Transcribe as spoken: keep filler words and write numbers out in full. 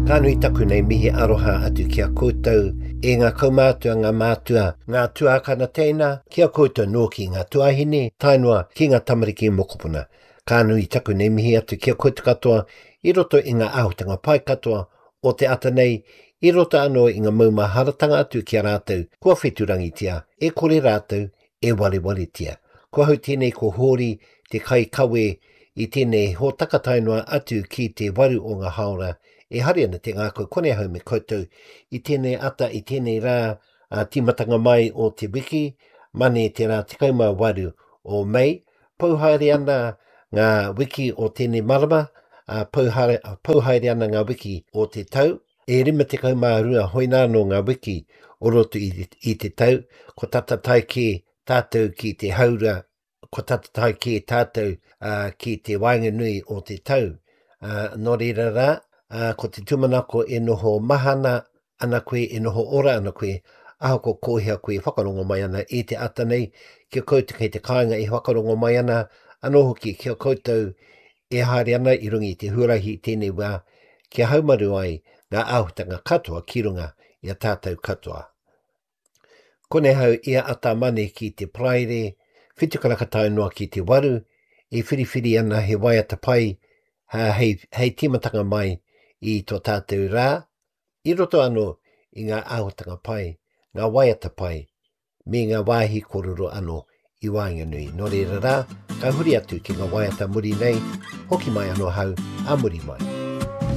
Ka nui taku nei mihi aroha atu ki a koutou e ngā kaumātua, ngā mātua, ngā tuākana teina, ki a koutou nōki ngā tuahine, tae noa ki ngā tamariki mokopuna. Ka nui taku nei mihi atu ki a koutou katoa i roto i ngā āhuatanga pai katoa o te ata nei, i roto anō i ngā maumaharatanga atu ki a rātou kua wheturangitia, e kore rātou e warewaretia. Ko ahau tēnei ko Hōri te kaikawe i tēnei hōtaka tae noa atu ki te waru o ngā hāora e hari ana te ngākau kone ahau me koutou i tēnei ata, i tēnei rā a, tīmatanga mai o te wiki, mane te rā tekau mā waru o Mei. Pau haere ana ngā wiki o tēnei marama, a, pau haere, pau haere ana ngā wiki o te tau. E rima tekau mā rua hoina anō ngā wiki o roto i, i te tau, ko tata tae kē tātou ki te haura, ko tata tae kē tātou uh, ki te waenganui o te tau. Uh, nō reira rā, uh, ko te tūmanako e noho mahana ana koe, e noho ora ana koe, ahako kōhea koe e whakarongo mai ana i te ata nei, kia koutou kei te kāinga e whakarongo mai ana, anō hoki kia koutou e haere ana i runga i te huarahi i tēnei wā, kia haumaru ai ngā āhuatanga katoa ki runga i a tātou katoa. Konei hau ia ata mane ki te Paraire, whitu karaka tae noa ki te waru, e whiriwhiri ana he waiata pai ha, hei, hei tīmatanga mai i tō tātou rā, i roto anō i ngā āhuatanga pai, ngā waiata pai, me ngā wāhi kōrero anō i waenganui. Nō reira rā, ka huri atu ki ngā waiata muri nei, hoki mai anō hau, a muri mai.